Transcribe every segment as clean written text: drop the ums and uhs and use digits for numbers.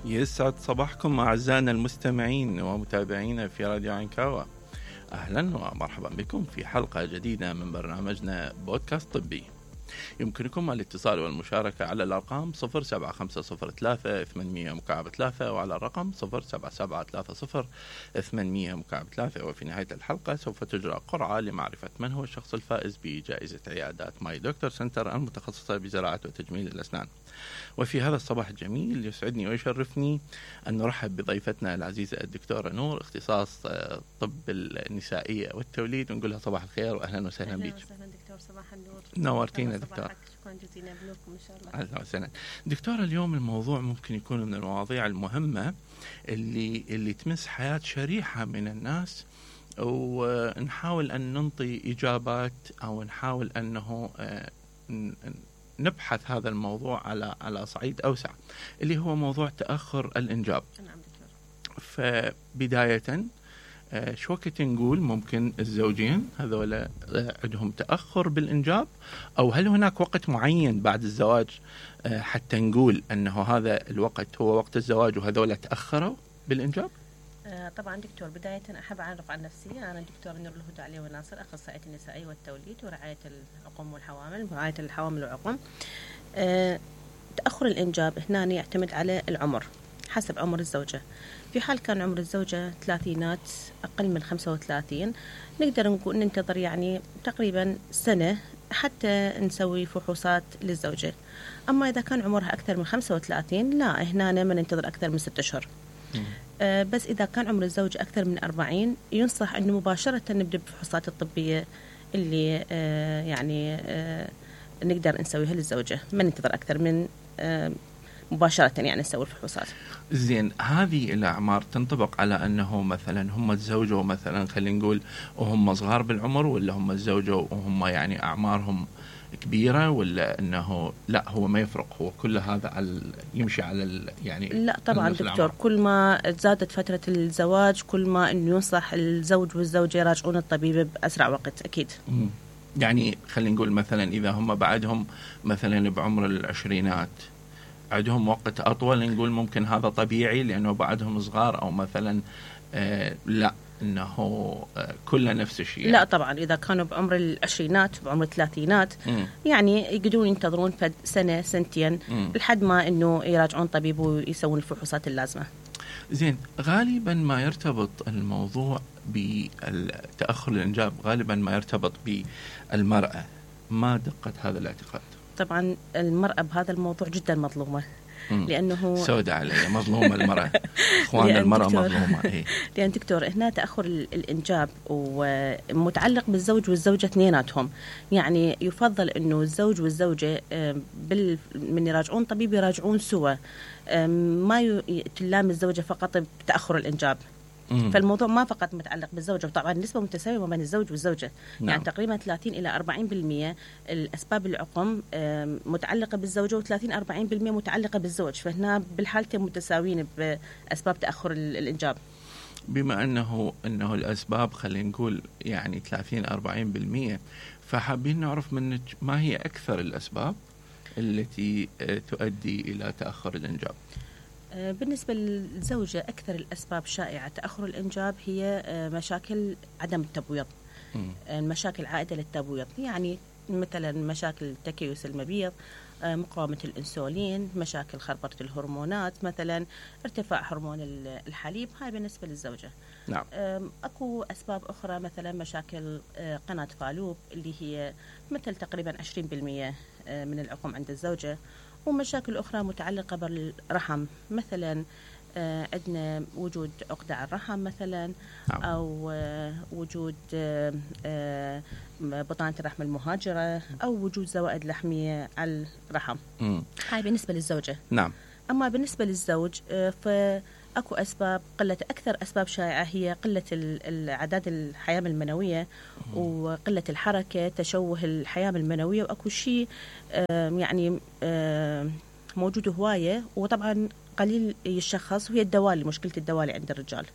يسعد صباحكم أعزائنا المستمعين ومتابعينا في راديو عنكاوة. أهلا ومرحبا بكم في حلقة جديدة من برنامجنا بودكاست طبي. يمكنكم الاتصال والمشاركة على الأرقام 07503-800-3 وعلى الرقم 07730-800-3. وفي نهاية الحلقة سوف تجرى قرعة لمعرفة من هو الشخص الفائز بجائزة عيادات ماي دكتور سنتر المتخصصة بزراعة وتجميل الأسنان. وفي هذا الصباح الجميل يسعدني ويشرفني أن نرحب بضيفتنا العزيزة الدكتورة نور، اختصاص طب النسائية والتوليد، ونقولها صباح الخير وأهلا وسهلا بك. أهلا وسهلا دكتور، صباح النور. نورتينا دكتور. شكرا جزيلا لكم إن شاء الله. أهلا وسهلا دكتورة. اليوم الموضوع ممكن يكون من المواضيع المهمة اللي تمس حياة شريحة من الناس، ونحاول أن ننطي إجابات أو نحاول أنه نبحث هذا الموضوع على صعيد أوسع، اللي هو موضوع تأخر الإنجاب. نعم دكتور. فبداية شو وقت نقول ممكن الزوجين هذولا عندهم تأخر بالإنجاب، أو هل هناك وقت معين بعد الزواج حتى نقول أنه هذا الوقت هو وقت الزواج وهذولا تأخروا بالإنجاب؟ طبعا دكتور، بداية أحب أعرف عن نفسي. أنا دكتور نور الهدى علي وناصر، أخصائية النسائية والتوليد ورعاية العقم والحوامل ورعاية الحوامل والعقم. تأخر الإنجاب هنا يعتمد على العمر حسب عمر الزوجة. في حال كان عمر الزوجة ثلاثينات أقل من 35 نقدر نقول ننتظر يعني تقريبا سنة حتى نسوي فحوصات للزوجة. أما إذا كان عمرها أكثر من 35 لا، هنا ما ننتظر أكثر من 6 أشهر. بس إذا كان عمر الزوج أكثر من 40 ينصح أنه مباشرة نبدأ بالفحوصات الطبية اللي نقدر نسويها للزوجة، ما ننتظر أكثر من مباشرة يعني نسوي الفحوصات. زين، هذه الأعمار تنطبق على أنه مثلا هم تزوجوا مثلا خلينا نقول وهم صغار بالعمر، ولا هم تزوجوا وهم يعني أعمارهم كبيرة، ولا أنه لا هو ما يفرق، هو كل هذا يمشي على يعني؟ لا طبعا دكتور، كل ما زادت فترة الزواج كل ما أنه ينصح الزوج والزوجة يراجعون الطبيب بأسرع وقت أكيد. يعني خلينا نقول مثلا إذا هم بعدهم مثلا بعمر العشرينات عندهم وقت أطول، نقول ممكن هذا طبيعي لأنه بعدهم صغار، أو مثلا لا إنه كله نفس الشيء؟ لا طبعا، إذا كانوا بعمر العشرينات بعمر الثلاثينات يعني يقدرون ينتظرون سنة سنتين لحد ما إنه يراجعون طبيب ويسوون الفحوصات اللازمة. زين، غالبا ما يرتبط الموضوع بالتأخر الإنجاب غالبا ما يرتبط بالمرأة. ما دقة هذا الاعتقاد؟ طبعا المرأة بهذا الموضوع جدا مظلومة، لأنه سودة علي مظلومة المرأة. إخوان المرأة مظلومة. لأن دكتور هنا تأخر الإنجاب ومتعلق بالزوج والزوجة اثنيناتهم. يعني يفضل إنه الزوج والزوجة من يراجعون طبيب يراجعون سوا، ما تلام الزوجة فقط بتأخر الإنجاب. فالموضوع ما فقط متعلق بالزوجة، وطبعا نسبة متساوية ما بين الزوج والزوجة. نعم. يعني تقريبا 30 إلى 40% الأسباب العقم متعلقة بالزوجة، و30-40% متعلقة بالزوج. فهنا بالحالتين متساويين بأسباب تأخر الإنجاب. بما أنه الأسباب خلينا نقول يعني 30-40%، فحابين نعرف منك ما هي أكثر الأسباب التي تؤدي إلى تأخر الإنجاب؟ بالنسبة للزوجة أكثر الأسباب شائعة تأخر الإنجاب هي مشاكل عدم التبويض، المشاكل عائدة للتبويض، يعني مثلا مشاكل تكيس المبيض، مقاومة الأنسولين، مشاكل خربطة الهرمونات، مثلا ارتفاع هرمون الحليب. هاي بالنسبة للزوجة. نعم. أكو أسباب أخرى مثلا مشاكل قناة فالوب اللي هي مثل تقريبا 20% من العقم عند الزوجة، ومشاكل أخرى متعلقة بالرحم، مثلا عندنا وجود عقدة على الرحم مثلا، أو وجود بطانة الرحم المهاجرة، أو وجود زوائد لحمية على الرحم. هاي بالنسبة للزوجة. نعم. أما بالنسبة للزوج فأكو أسباب أكثر أسباب شائعة هي قلة الأعداد الحياة المنوية وقلة الحركة، تشوه الحياة المنوية، وأكو شيء يعني موجود هواية وطبعا قليل يشخص، وهي الدوالي، مشكلة الدوالي عند الرجال.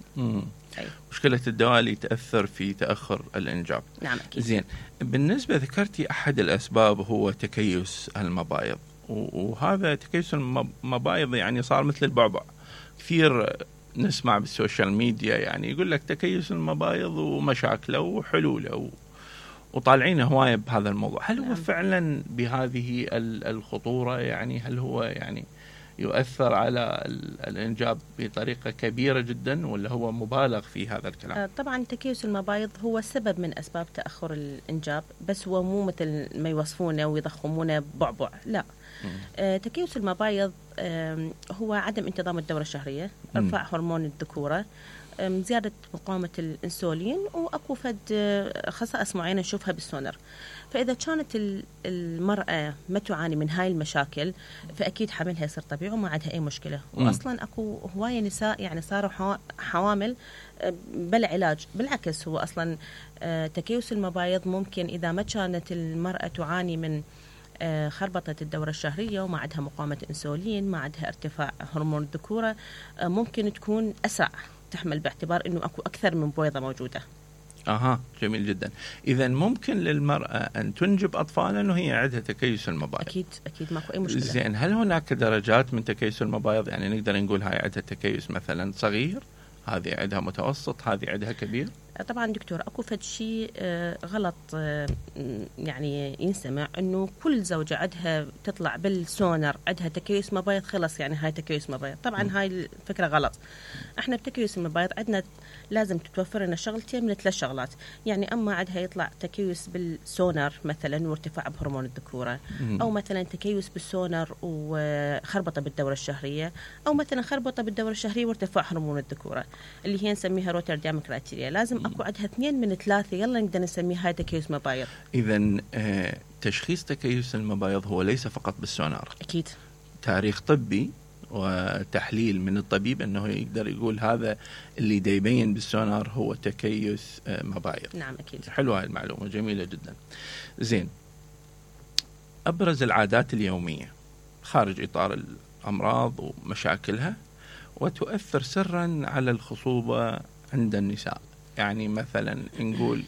مشكلة الدوالي تأثر في تأخر الإنجاب. نعم أكيد. زين، بالنسبة ذكرتي أحد الأسباب هو تكيس المبايض، وهذا تكيس المبايض يعني صار مثل البعبع، كثير نسمع بالسوشيال ميديا يعني يقول لك تكيس المبايض ومشاكله وحلوله وطالعين هواية بهذا الموضوع. هل هو فعلا بهذه الخطورة؟ يعني هل هو يعني يؤثر على الإنجاب بطريقة كبيرة جدا، ولا هو مبالغ في هذا الكلام؟ طبعا تكيس المبايض هو سبب من أسباب تأخر الإنجاب، بس هو مو مثل ما يوصفونه ويضخمونه بعبع، لا. تكيس المبايض هو عدم انتظام الدورة الشهرية، ارتفاع هرمون الذكورة، زيادة مقاومة الأنسولين، وأكو خصائص معينة نشوفها بالسونر. فإذا كانت المرأة ما تعاني من هاي المشاكل فأكيد حملها يصير طبيعي وما عندها أي مشكلة. وأصلا أكو هواية نساء يعني صاروا حوامل بلا علاج. بالعكس هو أصلا تكيس المبايض ممكن إذا ما كانت المرأة تعاني من خربطة الدورة الشهرية وما عندها مقاومة أنسولين، ما عندها ارتفاع هرمون الذكورة، ممكن تكون أسرع تحمل، باعتبار أنه أكو أكثر من بويضة موجودة. جميل جدا. إذا ممكن للمرأة أن تنجب أطفالا وهي عندها تكيس المبايض؟ أكيد ماكو أي مشكلة. زين، هل هناك درجات من تكيس المبايض؟ يعني نقدر نقول هاي عندها تكيس مثلا صغير، هذه عندها متوسط، هذه عندها كبير؟ طبعا دكتور أكو فد شيء غلط يعني ينسمع أنه كل زوجة عندها تطلع بالسونر عندها تكيس مبايض خلص يعني هاي تكيس مبايض. طبعا هاي الفكرة غلط. احنا بتكيس المبايض عندنا لازم تتوفر لنا شغلتين من 3 شغلات. يعني أما عندها يطلع تكيس بالسونر مثلا وارتفاع بهرمون الذكورة، أو مثلا تكيس بالسونر وخربطة بالدورة الشهرية، أو مثلا خربطة بالدورة الشهرية وارتفاع هرمون الذكورة اللي هي نسميها روتردام كرايتيريا. لازم أكو عندها 2 من 3 يلا نقدر نسميها هاي تكيس مبايض. إذا تشخيص تكيس المبايض هو ليس فقط بالسونار، أكيد تاريخ طبي وتحليل من الطبيب أنه يقدر يقول هذا اللي دا يبين بالسونار هو تكيس مبايض. نعم أكيد. حلوة هاي المعلومة، جميلة جدا. زين، أبرز العادات اليومية خارج إطار الأمراض ومشاكلها وتؤثر سرا على الخصوبة عند النساء. يعني مثلا نقول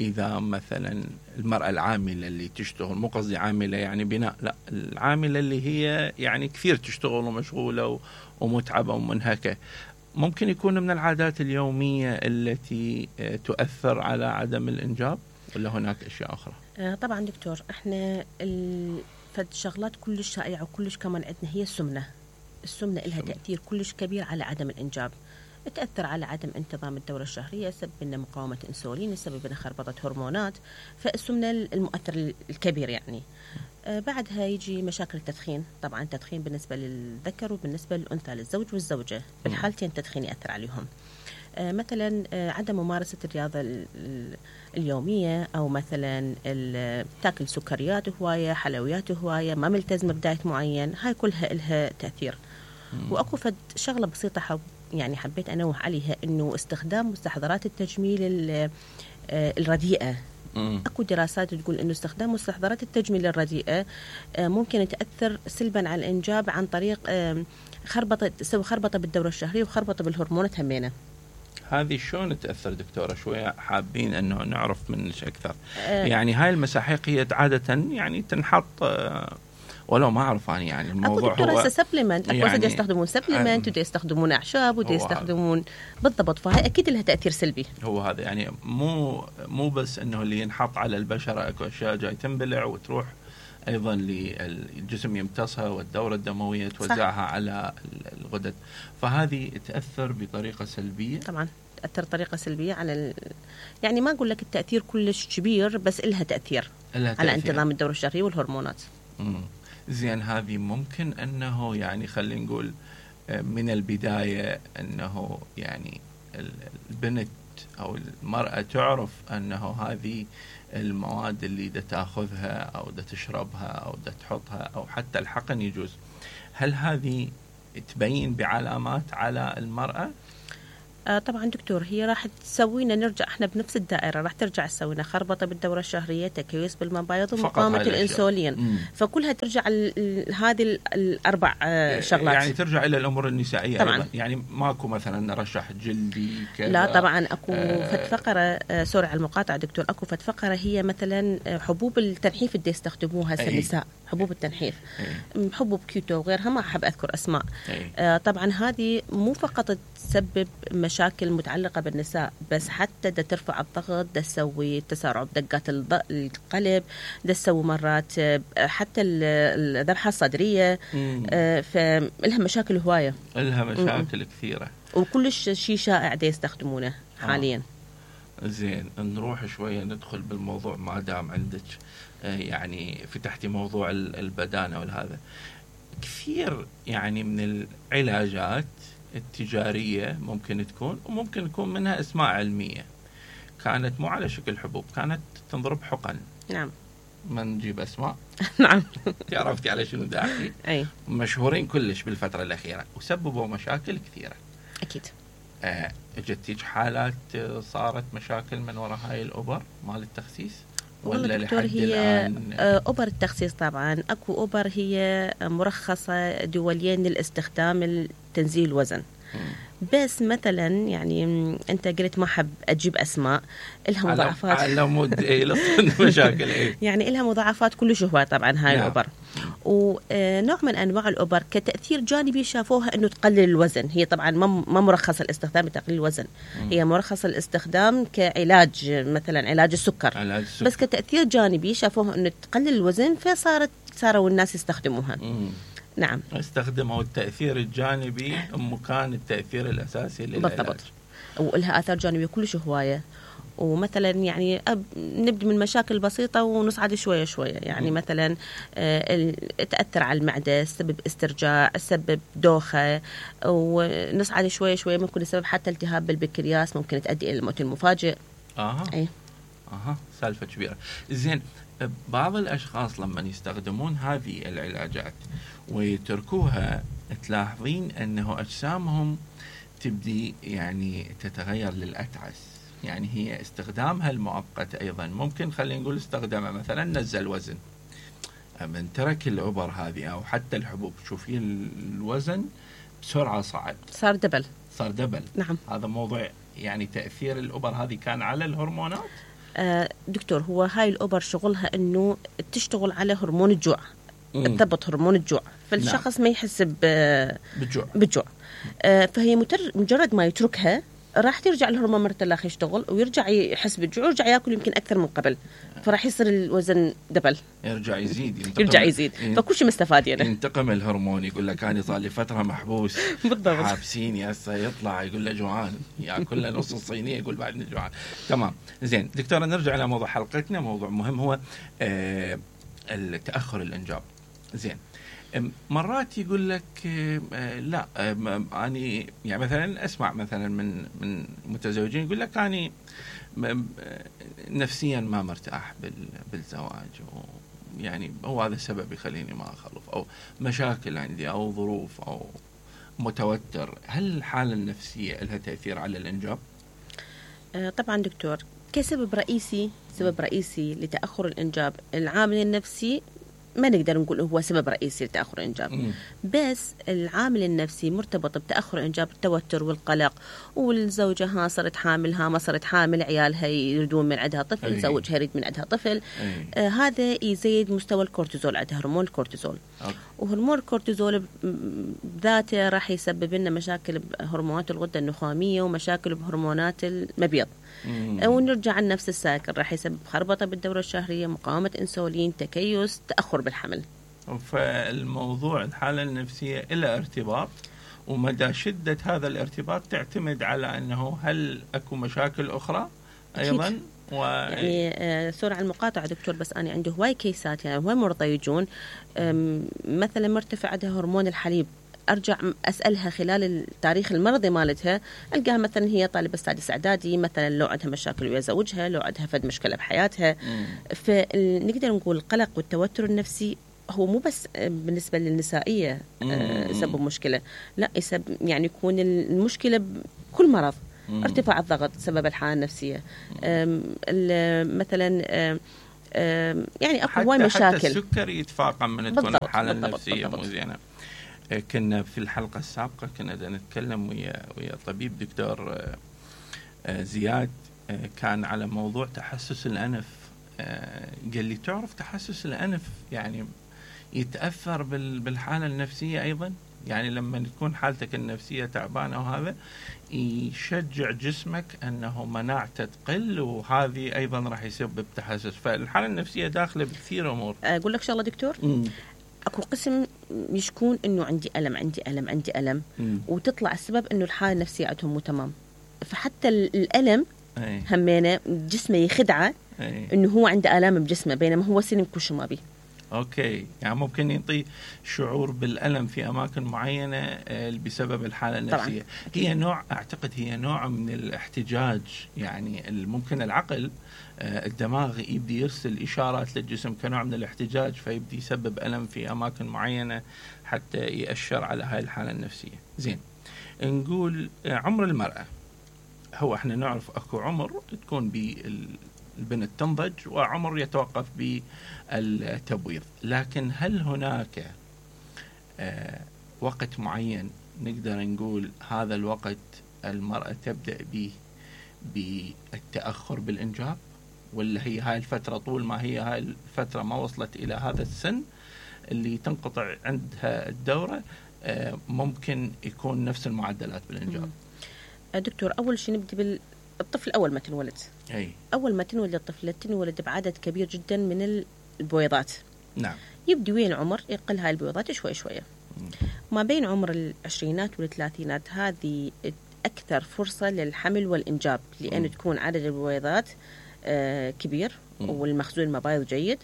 إذا مثلا المرأة العاملة اللي تشتغل، مو قصدي عاملة يعني بناء، لا، العاملة اللي هي يعني كثير تشتغل ومشغولة ومتعبة ومنهكة، ممكن يكون من العادات اليومية التي تؤثر على عدم الإنجاب، ولا هناك أشياء أخرى؟ طبعا دكتور، احنا فالشغلات كلش شائعة وكلش كمان عندنا هي السمنة إلها تأثير كلش كبير على عدم الإنجاب. تأثر على عدم انتظام الدورة الشهرية، سبب لنا مقاومة أنسولين، سبب لنا خربطة هرمونات. فالسمنة المؤثر الكبير يعني. بعدها يجي مشاكل التدخين. طبعا التدخين بالنسبة للذكر وبالنسبة للأنثى، للزوج والزوجة، بالحالتين التدخين يأثر عليهم. مثلا عدم ممارسة الرياضة اليومية، أو مثلا تاكل سكريات هواية، حلويات هواية، ما ملتزم بدايت معين، هاي كلها إلها تأثير. وأكو فد شغلة بسيطة يعني حبيت أنوه عليها، إنه استخدام مستحضرات التجميل الرديئة. أكو دراسات تقول إنه استخدام مستحضرات التجميل الرديئة ممكن تأثر سلبا على الإنجاب عن طريق تسوي خربطة بالدورة الشهرية وخربطة بالهرمونات همينة. هذه شلون تأثر دكتورة؟ شوية حابين أنه نعرف منك أكثر. يعني هاي المساحيق هي عادة يعني تنحط ولو ما أعرف أنا يعني الموضوع هو سبلمنت. أكو يعني يستخدمون سبلمنت ودي يستخدمون أعشاب ودي يستخدمون بالضبط، فهي أكيد لها تأثير سلبي. هو هذا يعني مو بس إنه اللي ينحط على البشرة، أكو أشياء جاي تنبلع وتروح أيضا للجسم يمتصها والدورة الدموية توزعها على الغدد، فهذه تأثر بطريقة سلبية. طبعا تأثر بطريقة سلبية على يعني ما أقول لك التأثير كلش كبير، بس إلها تأثير على انتظام الدورة الشهرية والهرمونات. زين، هذه ممكن أنه يعني خلينا نقول من البداية أنه يعني البنت أو المرأة تعرف أنه هذه المواد اللي دا تأخذها أو دا تشربها أو دا تحطها أو حتى الحقن يجوز، هل هذه تبين بعلامات على المرأة؟ طبعا دكتور، هي راح تسوينا نرجع احنا بنفس الدائره، راح ترجع تسوينا خربطه بالدوره الشهريه، تكيس بالمبايض، ومقاومه الانسولين. فكلها ترجع هذه الاربع شغلات، يعني ترجع الى الامور النسائيه طبعا. أيضا. يعني ماكو مثلا نرشح جلدي كذا؟ لا طبعا اكو فد فقره، سوري على المقاطعه دكتور، اكو فد فقره هي مثلا حبوب التنحيف اللي يستخدموها هسه النساء، حبوب التنحيف، حبوب كيتو وغيرها، ما احب اذكر اسماء. طبعا هذه مو فقط تسبب مشاكل متعلقة بالنساء، بس حتى دا ترفع الضغط، دا تسوي تسارع بدقات القلب، دا تسوي مرات حتى الذبحة الصدرية. فلها مشاكل هواية، لها مشاكل كثيرة، وكل شيء شائع دا يستخدمونه حاليا. زين، نروح شوية ندخل بالموضوع ما دام عندك يعني فتحتي موضوع البدانة والهذا. كثير يعني من العلاجات التجارية ممكن تكون، وممكن يكون منها اسماء علمية، كانت مو على شكل حبوب، كانت تنضرب حقن. نعم. ما نجيب اسماء. نعم. عرفتي على شنو داعي؟ اي. مشهورين كلش بالفترة الأخيرة وسببوا مشاكل كثيرة. أكيد. اجتيج حالات صارت مشاكل من وراء هاي الأوبر مال التخسيس؟ والله دكتور، هي أوبر التخسيس طبعا أكو أوبر هي مرخصة دوليا للاستخدام لتنزيل الوزن. بس مثلا يعني أنت قلت ما حب أجيب أسماء، إلها مضاعفات على مود مشاكل يعني إلها مضاعفات كلش هواية طبعا هاي الأوبر. ونوع من أنواع الأوبر كتأثير جانبي شافوها أنه تقلل الوزن. هي طبعا ما مرخصة الاستخدام لتقليل الوزن، هي مرخصة الاستخدام كعلاج، مثلا علاج السكر. بس كتأثير جانبي شافوها أنه تقلل الوزن، صاروا الناس يستخدموها. نعم، استخدموا التأثير الجانبي مكان التأثير الأساسي للعلاج. بالضبط، ولها آثار جانبية كلش هواية. ومثلا يعني نبدأ من مشاكل بسيطة ونصعد شوية شوية. يعني مثلا تأثر على المعدة، سبب استرجاع، سبب دوخة، ونصعد شوية شوية ممكن السبب حتى التهاب بالبنكرياس، ممكن تؤدي إلى الموت المفاجئ. سالفة كبيرة. زين، بعض الأشخاص لما يستخدمون هذه العلاجات ويتركوها، تلاحظين أنه أجسامهم تبدي يعني تتغير للأتعس. يعني هي استخدامها المؤقت أيضا ممكن، خلينا نقول استخدامها مثلا نزل وزن، من ترك الأوبر هذه أو حتى الحبوب، شوفي الوزن بسرعة صعد، صار دبل. نعم. هذا موضوع يعني تأثير الأوبر هذه كان على الهرمونات. دكتور، هو هاي الأوبر شغلها أنه تشتغل على هرمون الجوع، تضبط هرمون الجوع، فالشخص ما يحس بالجوع. فهي مجرد ما يتركها راح ترجع الهرمون مرة الأخ يشتغل، ويرجع يحس بالجوع، ويرجع يأكل يمكن أكثر من قبل، فراح يصير الوزن دبل، يرجع يزيد. فكل شيء مستفاد يعني. ينتقم الهرمون، يقول لك أنا صار لي فترة محبوس بالضبط، حابسيني، هسه يطلع يقول له جوعان، يأكل له نص الصينية يقول بعدني جوعان. تمام. زين دكتورة، نرجع إلى موضوع حلقتنا، موضوع مهم هو التأخر الإنجاب. زين، مرات يقول لك لا، أنا يعني مثلا أسمع مثلا من متزوجين يقول لك أنا نفسيا ما مرتاح بالزواج، يعني هو هذا السبب يخليني ما أخلف، أو مشاكل عندي، أو ظروف، أو متوتر. هل الحالة النفسية لها تأثير على الإنجاب؟ طبعا دكتور، كسبب رئيسي لتأخر الإنجاب، العامل النفسي ما نقدر نقول هو سبب رئيسي لتأخر الإنجاب. بس العامل النفسي مرتبط بتأخر الإنجاب، التوتر والقلق، والزوجة صارت حامل، ما صارت حامل، عيالها يريدون من عندها طفل، زوجها يريد من عندها طفل. هذا يزيد مستوى الكورتيزول، عندها هرمون الكورتيزول. وهرمون الكورتيزول ذاته راح يسبب لنا مشاكل بهرمونات الغدة النخامية، ومشاكل بهرمونات المبيض. ونرجع لنفس السايكل، راح يسبب خربطة بالدورة الشهرية، مقاومة انسولين، تكيس، تأخر بالحمل. فالموضوع الحالة النفسية إلى ارتباط، ومدى شدة هذا الارتباط تعتمد على أنه هل أكو مشاكل أخرى أيضا. يعني سوري على المقاطعة دكتور، بس أنا عنده هواي كيسات، يعني هواي مرضى يجون مثلا مرتفع عندها هرمون الحليب، أرجع أسألها خلال التاريخ المرضي مالتها، ألقاها مثلا هي طالبة سادس إعدادي، مثلا لو عندها مشاكل ويا زوجها، لو عندها فد مشكلة بحياتها. فنقدر نقول القلق والتوتر النفسي هو مو بس بالنسبة للنسائية يسبب مشكلة، لا، يعني يكون المشكلة بكل مرض. ارتفاع الضغط سبب الحالة النفسية، مثلا يعني اكو هواي مشاكل. حتى السكري يتفاقم من تكون الحالة النفسية مو زينة. كنا في الحلقة السابقة كنا نتكلم ويا طبيب دكتور زياد، كان على موضوع تحسس الأنف. قال لي تعرف تحسس الأنف يعني يتأثر بالحالة النفسية أيضا، يعني لما تكون حالتك النفسية تعبانة وهذا يشجع جسمك أنه مناعته تقل، وهذه أيضا راح يسبب تحسس. فالحالة النفسية داخلة بكثير أمور. أقول لك شغلة دكتور، اكو قسم يشكون انه عندي ألم وتطلع السبب انه الحالة النفسية عندهم مو تمام، فحتى الألم همينه جسمه يخدعه انه هو عنده آلام بجسمه بينما هو سلم كل شيء ما بيه. اوكي، يعني ممكن يعطي شعور بالألم في اماكن معينه بسبب الحاله النفسيه. طبعاً. اعتقد هي نوع من الاحتجاج، يعني ممكن العقل الدماغ يبدي يرسل اشارات للجسم كنوع من الاحتجاج، فيبدي يسبب ألم في اماكن معينه حتى يأشر على هاي الحاله النفسيه. زين، نقول عمر المرأة. هو احنا نعرف اكو عمر تكون البنت تنضج وعمر يتوقف بالتبويض، لكن هل هناك وقت معين نقدر نقول هذا الوقت المرأة تبدأ به بالتأخر بالإنجاب، ولا هي هاي الفترة طول ما هي هاي الفترة ما وصلت إلى هذا السن اللي تنقطع عندها الدورة ممكن يكون نفس المعدلات بالإنجاب؟ دكتور، أول شيء نبدأ الطفل أول ما تنولد. أول ما تنولد الطفلة تنولد بعدد كبير جدا من البويضات. نعم. يبدي وين العمر يقل هاي البويضات شوي شوية. ما بين عمر العشرينات والثلاثينات هذه أكثر فرصة للحمل والإنجاب، لأن تكون عدد البويضات كبير والمخزون المبايض جيد،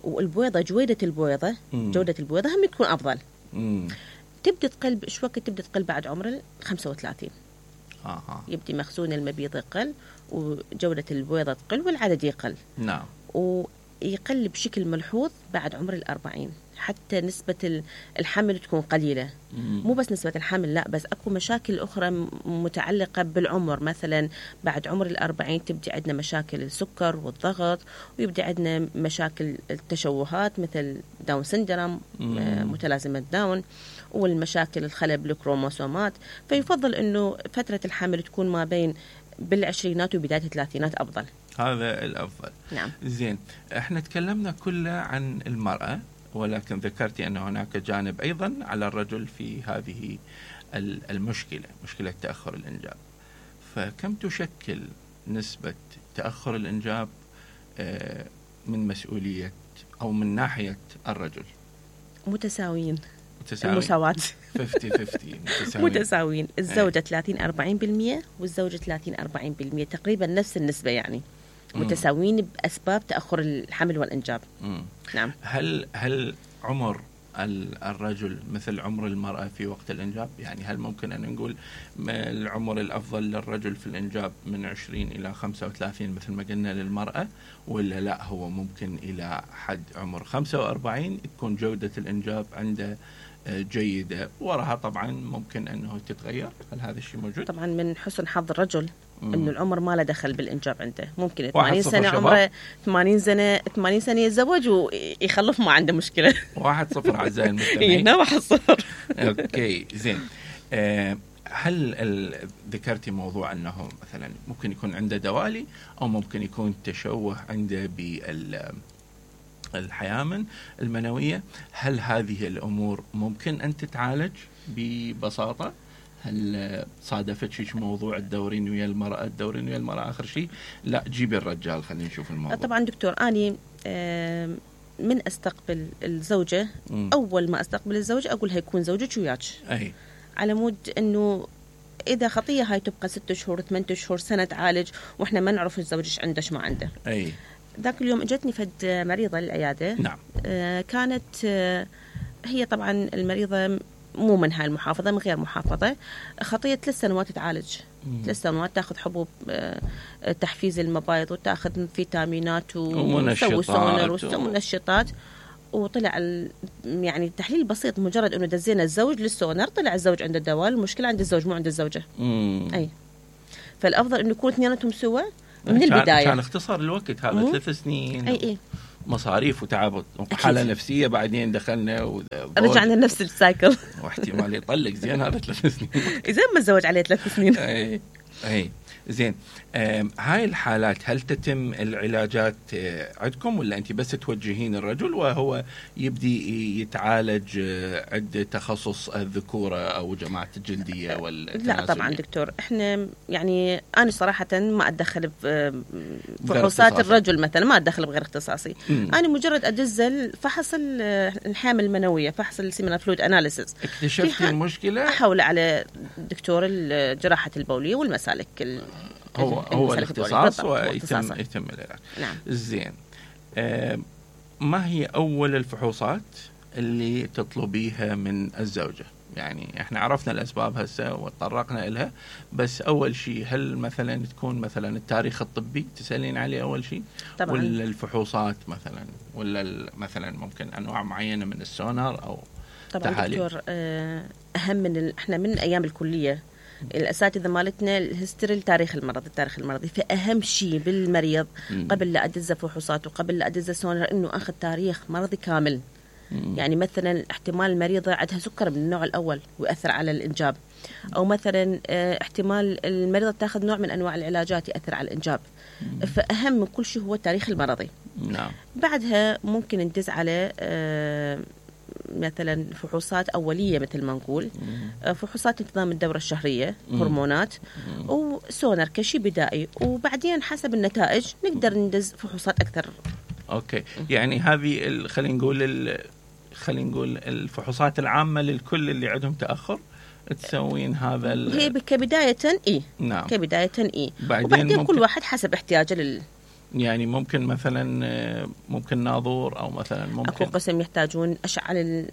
والبويضة جودة البويضة هم تكون أفضل. تبدأ تقل إيش وقت تبدأ تقل بعد عمر 35. يبدي مخزون المبيض يقل وجودة البويضة تقل والعدد يقل. نعم. ويقل بشكل ملحوظ بعد عمر 40، حتى نسبة الحمل تكون قليلة. مو بس نسبة الحمل، لا، بس أكو مشاكل أخرى متعلقة بالعمر. مثلا بعد عمر 40 تبدي عندنا مشاكل السكر والضغط، ويبدي عندنا مشاكل التشوهات مثل داون سندروم، متلازمة داون، والمشاكل الخلل بالكروموسومات. فيفضل أنه فترة الحمل تكون ما بين بالعشرينات وبداية الثلاثينات أفضل. هذا الأفضل. نعم. زين، احنا تكلمنا كله عن المرأة، ولكن ذكرتي أن هناك جانب أيضا على الرجل في هذه المشكلة، مشكلة تأخر الإنجاب. فكم تشكل نسبة تأخر الإنجاب من مسؤولية أو من ناحية الرجل؟ متساويين. المساواة 50-50 متساويين. الزوجة 30-40% والزوجة 30-40%، تقريبا نفس النسبة، يعني متساويين بأسباب تأخر الحمل والإنجاب. نعم. هل عمر الرجل مثل عمر المرأة في وقت الإنجاب؟ يعني هل ممكن أن نقول العمر الأفضل للرجل في الإنجاب من 20 إلى 35 مثل ما قلنا للمرأة، ولا لا هو ممكن إلى حد عمر 45 تكون جودة الإنجاب عنده جيدة، وراها طبعا ممكن أنه تتغير؟ هل هذا الشيء موجود؟ طبعا من حسن حظ الرجل انه العمر ما له دخل بالانجاب عنده. ممكن 80 سنه عمره 80 سنه يتزوج ويخلف ما عنده مشكله. 1-0 اعزائي المستمعين. هنا 1-0. اوكي، زين. هل ذكرتي موضوع انه مثلا ممكن يكون عنده دوالي او ممكن يكون تشوه عنده بالحيامن المنويه؟ هل هذه الامور ممكن ان تتعالج ببساطه؟ هل صادفت شيء موضوع الدورين ويا المرأة آخر شيء؟ لا، جيب الرجال خلينا نشوف الموضوع. طبعا دكتور، أنا من أستقبل الزوجة أول ما أستقبل الزوجة أقول هيكون زوجك وياك، على مود أنه إذا خطية هاي تبقى 6 شهور 8 شهور سنة تعالج وإحنا ما نعرف زوجك عندش ما عنده. ذاك اليوم اجتني فد مريضة للعيادة. نعم. كانت هي طبعا المريضة مو من هاي المحافظة، من غير محافظة، خطية 3 سنوات تعالج. 3 سنوات تاخذ حبوب تحفيز المبايض وتاخذ فيتامينات ومنشطات، وطلع يعني التحليل بسيط، مجرد انه دزينا الزوج للسونر طلع الزوج عنده الدواء، المشكلة عند الزوج مو عند الزوجة. فالافضل انه يكون اثنيناتهم سوا من البدايه. كان اختصار الوقت هذا 3 سنين. اي مصاريف وتعب وحاله نفسيه، بعدين دخلنا رجعنا نفس السايكل واحتمال يطلق. زين هذا 3 سنين اذا ما تزوج عليه 3 سنين. اي زين. هاي الحالات هل تتم العلاجات عندكم، ولا انت بس توجهين الرجل وهو يبدي يتعالج عند تخصص الذكوره او جماعه الجلديه والتناسلية؟ لا طبعا دكتور، احنا يعني انا صراحه ما اتدخل بفحوصات الرجل مثلا، ما اتدخل بغير اختصاصي. انا مجرد ادز فحص الحامل المنويه، فحص السيمينال فلويد اناليسيس. اكتشفتي المشكله، احول على دكتور جراحه البوليه والمسالك. هو الاختصاص ويتم العلاج. نعم. زين. ما هي أول الفحوصات اللي تطلبيها من الزوجة؟ يعني احنا عرفنا الأسباب هسه وتطرقنا إلها، بس أول شيء هل مثلا تكون مثلا التاريخ الطبي تسألين عليه أول شيء؟ طبعا. ولا الفحوصات مثلا، ولا مثلا ممكن أنواع معينة من السونار أو طبعا تحاليل؟ دكتور، أهم من احنا من أيام الكلية الأساتذة مالتنا الهستوري التاريخ المرضي، فأهم شيء بالمريض قبل لا أدز فحوصات وقبل لا أدز سونار إنه أخذ تاريخ مرضي كامل. يعني مثلا احتمال المريضة عندها سكر من النوع الأول ويأثر على الإنجاب، أو مثلا احتمال المريضة تأخذ نوع من أنواع العلاجات يأثر على الإنجاب. فأهم من كل شيء هو التاريخ المرضي. نعم. بعدها ممكن ندز على مثلا فحوصات أولية مثل ما نقول، فحوصات انتظام الدورة الشهرية، هرمونات، وسونار كشي بدائي، وبعدين حسب النتائج نقدر ندز فحوصات أكثر. أوكي. يعني هذه خلينا نقول الفحوصات العامة للكل اللي عندهم تأخر تسوين هذا هي كبداية إيه. نعم. كبداية إيه. وبعدين كل واحد حسب احتياجه يعني ممكن مثلا ممكن ناظور، او مثلا ممكن اكو قسم يحتاجون اشعه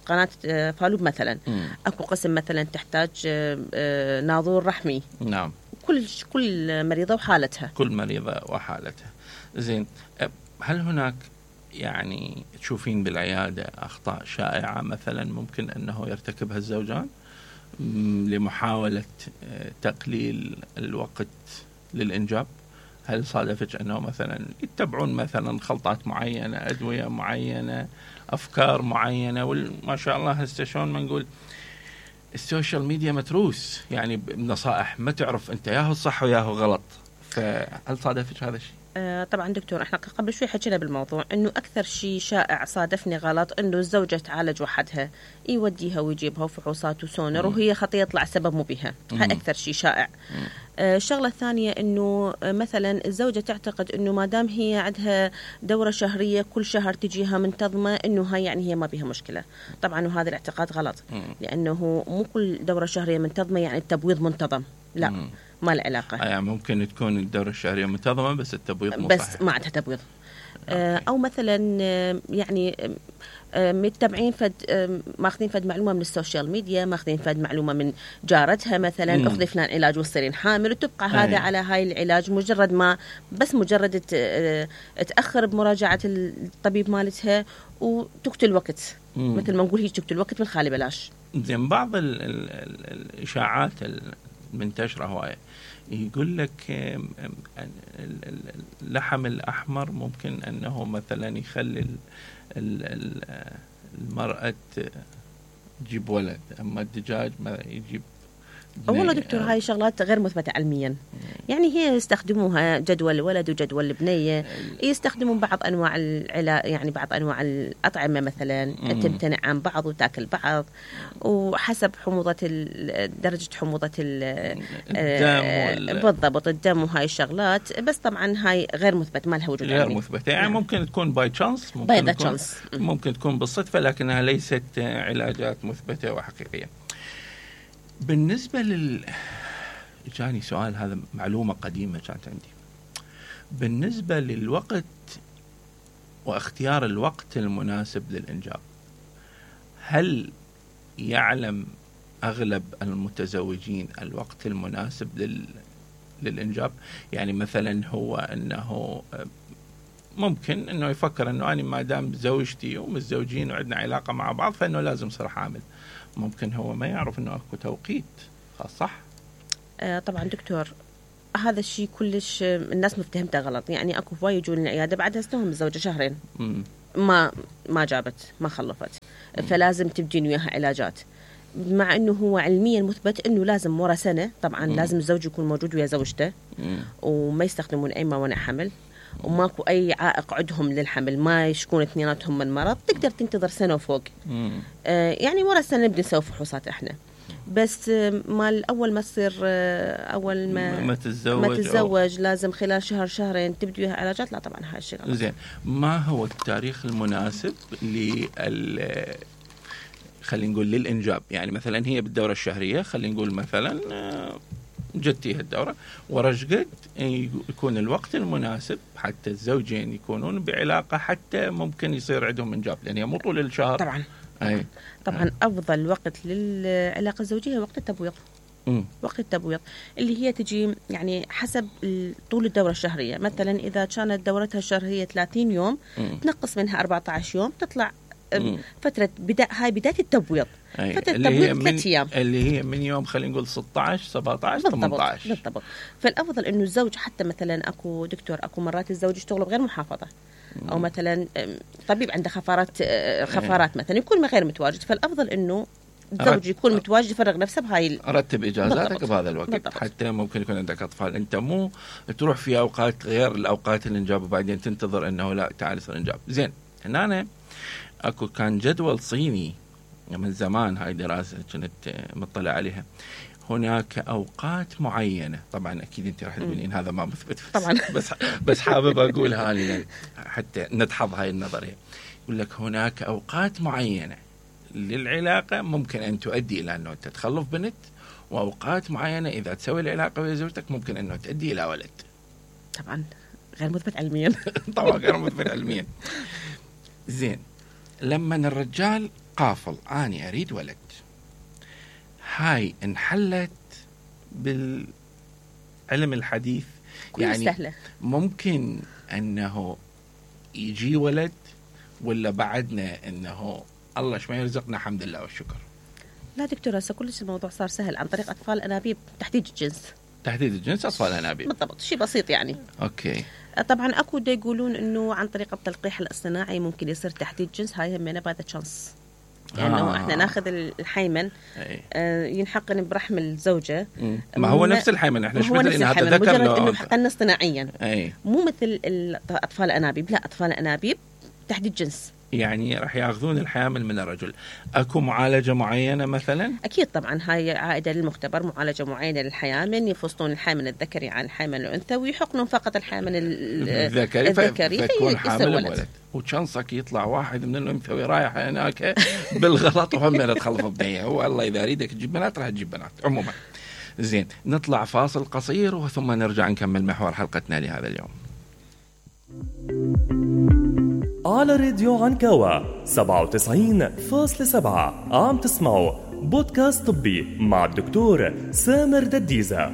قناه فالوب مثلا. اكو قسم مثلا تحتاج ناظور رحمي. نعم. كل مريضه وحالتها. كل مريضه وحالتها. زين. هل هناك يعني تشوفين بالعياده اخطاء شائعه مثلا ممكن انه يرتكبها الزوجان لمحاوله تقليل الوقت للإنجاب؟ هل صادفت أنه مثلا يتبعون مثلا خلطات معينة، أدوية معينة، أفكار معينة، وما شاء الله هسه شلون ما نقول السوشيال ميديا متروس يعني بنصائح ما تعرف أنت ياهو الصح وياهو غلط، فهل صادفت هذا الشيء؟ طبعا دكتور، احنا قبل شوي حكينا بالموضوع انه اكثر شيء شائع صادفني غلط انه الزوجه تعالج وحدها، يوديها ويجيبها وفحوصات وسونر وهي خطيه يطلع سبب مو بها. هاي اكثر شيء شائع. الشغله الثانيه انه مثلا الزوجه تعتقد انه ما دام هي عندها دوره شهريه كل شهر تجيها منتظمه انه هاي يعني هي ما بها مشكله. طبعا وهذا الاعتقاد غلط، لانه مو كل دوره شهريه منتظمه يعني التبويض منتظم، لا. ما له علاقة. يعني ممكن تكون الدورة الشهرية منتظمة بس التبويض مو بس صحيح. ما عندها تبويض. أو مثلا يعني متبعين ماخذين فد معلومة من السوشيال ميديا، ماخذين فد معلومة من جارتها مثلا، أخذي فلان علاج وتصيرين حامل، وتبقى هذا على هاي العلاج مجرد تأخر بمراجعة الطبيب مالتها وتقتل وقت. مثل ما نقول هي تقتل وقت من خالي بلاش. زين. بعض الإشاعات منتشرة هواية يقول لك اللحم الأحمر ممكن أنه مثلا يخلي المرأة تجيب ولد، أما الدجاج ما يجيب. والله دكتور هاي شغلات غير مثبتة علميا. يعني هي يستخدموها جدول الولد وجدول البنية، يستخدمون بعض أنواع يعني بعض أنواع الأطعمة مثلا تمتنع عن بعض وتاكل بعض، وحسب درجة حموضة الدم بالضبط الدم وهاي الشغلات. بس طبعا هاي غير مثبت، ما لها وجود غير مثبتة. يعني ممكن تكون باي تشانس، ممكن تكون بالصدفة، لكنها ليست علاجات مثبتة وحقيقية. بالنسبة جاني سؤال، هذا معلومة قديمة كانت عندي. بالنسبة للوقت واختيار الوقت المناسب للإنجاب، هل يعلم أغلب المتزوجين الوقت المناسب للإنجاب؟ يعني مثلا هو أنه ممكن أنه يفكر أنه أنا ما دام زوجتي ومتزوجين وعندنا علاقة مع بعض فإنه لازم صار حامل. ممكن هو ما يعرف أنه أكو توقيت خاص، صح؟ طبعا دكتور، هذا الشيء كلش الناس مفتهمته غلط. يعني اكو هواي يجون العياده بعدها استهم الزوجه شهرين ما جابت ما خلفت، فلازم تبدين وياها علاجات، مع انه هو علميا مثبت انه لازم ورا سنه طبعا لازم الزوج يكون موجود ويا زوجته وما يستخدمون اي موانع حمل، وماكو اي عائق عندهم للحمل، ما يشكون اثنيناتهم من مرض، تقدر تنتظر سنه وفوق. يعني ورا السنه نبدا نسوي فحوصات احنا، بس مال اول ما تصير اول ما تتزوج لازم خلال شهر شهرين تبدي وياها علاجات. لا طبعا هاي الشيء غلط. زين، ما هو التاريخ المناسب خلينا نقول للإنجاب؟ يعني مثلا هي بالدورة الشهرية، خلينا نقول مثلا جتيها الدورة، ورشقد يكون الوقت المناسب حتى الزوجين يكونون بعلاقة، حتى ممكن يصير عندهم إنجاب، لأن هي مو طول الشهر. طبعا أفضل وقت للعلاقة الزوجية وقت التبويض. وقت التبويض اللي هي تجي يعني حسب طول الدورة الشهرية. مثلا إذا كانت دورتها الشهرية 30 يوم تنقص منها 14 يوم تطلع فترة هاي بداية التبويض. فترة التبويض 3 أيام اللي هي من يوم خلينا نقول 16 17 18 بالضبط. فالأفضل إنه الزوج، حتى مثلا أكو دكتور أكو مرات الزوج يشتغل بغير محافظة، أو مثلا طبيب عنده خفارات مثلا يكون غير متواجد، فالأفضل إنه الزوج يكون متواجد يفرغ نفسه بهاي رتب إجازاتك بهذا الوقت. حتى ممكن يكون عندك أطفال، أنت مو تروح في أوقات غير الأوقات الإنجاب وبعدين تنتظر إنه لا تعال يصير إنجاب. زين، هنا أكو كان جدول صيني من زمان، هاي دراسة كنت مطلع عليها. هناك أوقات معينة، طبعا أكيد أنت راح تقولين هذا ما مثبت طبعا بس حابب أقولها لي حتى ندحض هاي النظرية. يقول لك هناك أوقات معينة للعلاقة ممكن أن تؤدي إلى أنه تتخلف بنت، وأوقات معينة إذا تسوي العلاقة ويا زوجتك ممكن أنه تؤدي إلى ولد. طبعا غير مثبت علميا. طبعا غير مثبت علميا. زين، لما الرجال قافل أنا أريد ولد، هاي انحلت بالعلم الحديث، يعني سهلة. ممكن أنه يجي ولد، ولا بعدنا أنه الله شو ما يرزقنا الحمد لله والشكر؟ لا دكتور، هسه كلش الموضوع صار سهل عن طريق أطفال أنابيب، تحديد الجنس أطفال أنابيب بالضبط، شيء بسيط يعني. أوكي. طبعا أكو دا يقولون إنه عن طريق التلقيح الاصطناعي ممكن يصير تحديد جنس، هاي همينة بعد تشانس، يعني احنا ناخذ الحيمن ينحقن برحم الزوجة. ما هو نفس الحيمن، احنا شو بدل انها تذكر مجرد انه حقنا اصطناعيا، مو مثل الاطفال انابيب. لا، اطفال انابيب تحديد جنس، يعني راح ياخذون الحامل من الرجل. اكو معالجه معينه مثلا؟ اكيد طبعا، هاي عائده للمختبر، معالجه معينه للحيامن، يفصلون الحامل الذكري عن الحامل الانثى ويحقنون فقط الحامل الذكري فيكون حامل ولد. وشانسك يطلع واحد من الانثوي رايح هناك بالغلط وهم تخلف بنيه. هو الله اذا اريدك تجيب بنات راح تجيب بنات عموما. زين، نطلع فاصل قصير وثم نرجع نكمل محور حلقتنا لهذا اليوم. على راديو عنكاوة 97.7 عم تسمعوا بودكاست طبي مع الدكتور سامر دديزة.